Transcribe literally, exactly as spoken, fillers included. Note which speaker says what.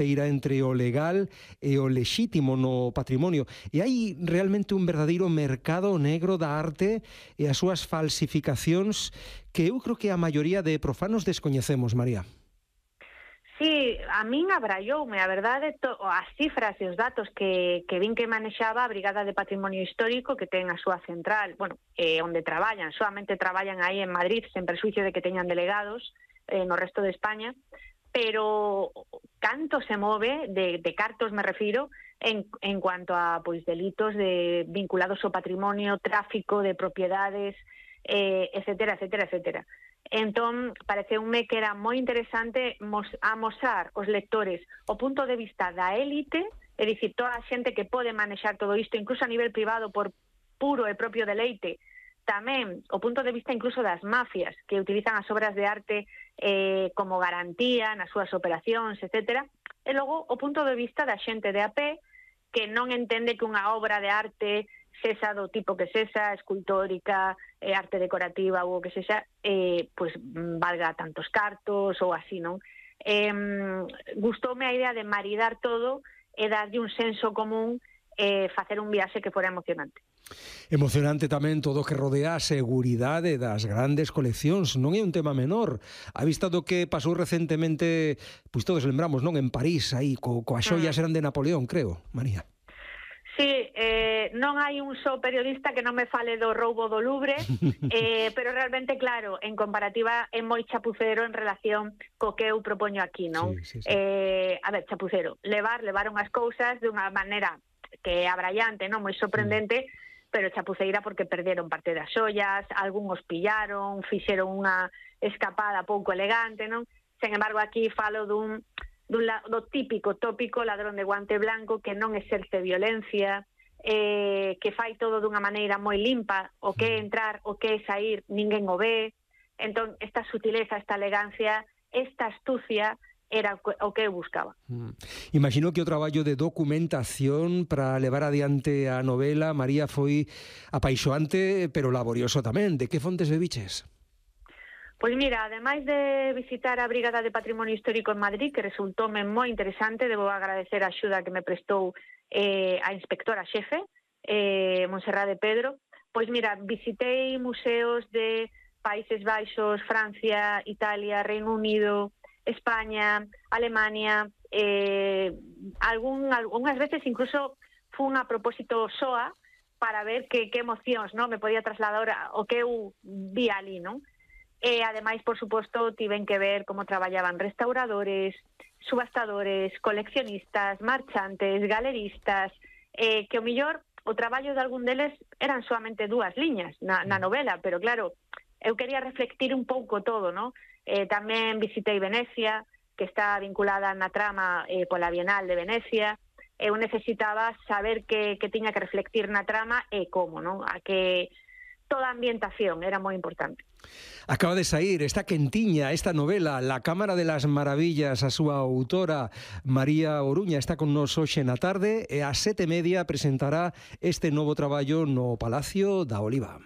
Speaker 1: fronteira entre o legal e o lexítimo no patrimonio. E hai realmente un verdadeiro mercado negro da arte e as súas falsificacións que eu creo que a maioría de profanos descoñecemos, María.
Speaker 2: Sí, a min abraioume, a verdade, to, as cifras e os datos que, que vin que manexaba a Brigada de Patrimonio Histórico, que ten a súa central, bueno, eh, onde traballan, solamente traballan aí en Madrid, sen persuicio de que teñan delegados eh, no resto de España, pero canto se move, de, de cartos me refiro, en, en cuanto a pois delitos de vinculados ao patrimonio, tráfico de propiedades, eh, etcétera, etcétera, etcétera. Entón, pareceume que era moi interesante mos, amosar os lectores o punto de vista da élite, é dicir, toda a xente que pode manexar todo isto, incluso a nivel privado, por puro e propio deleite, tamén o punto de vista incluso das mafias, que utilizan as obras de arte eh, como garantía nas súas operacións, etcétera, e logo o punto de vista da xente de a pé, que non entende que unha obra de arte sesa do tipo que sesa, escultórica, eh, arte decorativa ou o que sexa, eh, pois valga tantos cartos ou así, non? Eh, gustoume a idea de maridar todo e darlle un senso común e eh, facer un viaxe que fora emocionante.
Speaker 1: Emocionante tamén todo o que rodea a seguridade das grandes coleccións, non é un tema menor. A vista do que pasou recentemente, pois todos lembramos, non? En París, aí, co, coas xoias eran de Napoleón, creo, María.
Speaker 2: Sí, eh, non hai un só periodista que non me fale do roubo do Louvre, eh, pero realmente, claro, en comparativa é moi chapucero en relación co que eu propoño aquí, non?
Speaker 1: Sí, sí, sí.
Speaker 2: Eh, a ver, chapucero, levar, levaron as cousas de unha maneira que é abraiante, non? Moi sorprendente, mm. pero chapuceira porque perderon parte das xoias, algúns pillaron, fixeron unha escapada pouco elegante, non? Sen embargo, aquí falo dun... Do, do típico tópico ladrón de guante blanco que non exerce violencia, eh, que fai todo dunha maneira moi limpa, o que é entrar, o que é sair, ninguén o ve. Entón, esta sutileza, esta elegancia, esta astucia era o que eu buscaba.
Speaker 1: Mm. Imagino que o traballo de documentación para levar adiante a novela, María, foi apaixoante, pero laborioso tamén. De que fontes bebiches?
Speaker 2: Pois mira, ademais de visitar a Brigada de Patrimonio Histórico en Madrid, que resultoume moi interesante, debo agradecer a axuda que me prestou eh, a inspectora xefe, eh, Montserrat de Pedro, pois mira, visitei museos de Países Baixos, Francia, Italia, Reino Unido, España, Alemania, eh, algún, algunhas veces incluso fun a propósito soa para ver que, que emocións, non, me podía trasladar o que eu vi ali, non? E, ademais, por suposto, tiven que ver como traballaban restauradores, subastadores, coleccionistas, marchantes, galeristas, eh, que o millor o traballo de algún deles eran solamente dúas liñas na, na novela, pero claro, eu quería reflectir un pouco todo, non? Eh, tamén visitei Venecia, que está vinculada na trama eh, pola Bienal de Venecia. Eu necesitaba saber que, que tiña que reflectir na trama e como, non? A que toda a ambientación era moi importante.
Speaker 1: Acaba de sair, está quentiña esta novela, La Cámara de las Maravillas, a súa autora María Oruña está con nos hoxe na tarde e ás sete e media presentará este novo traballo no Palacio da Oliva.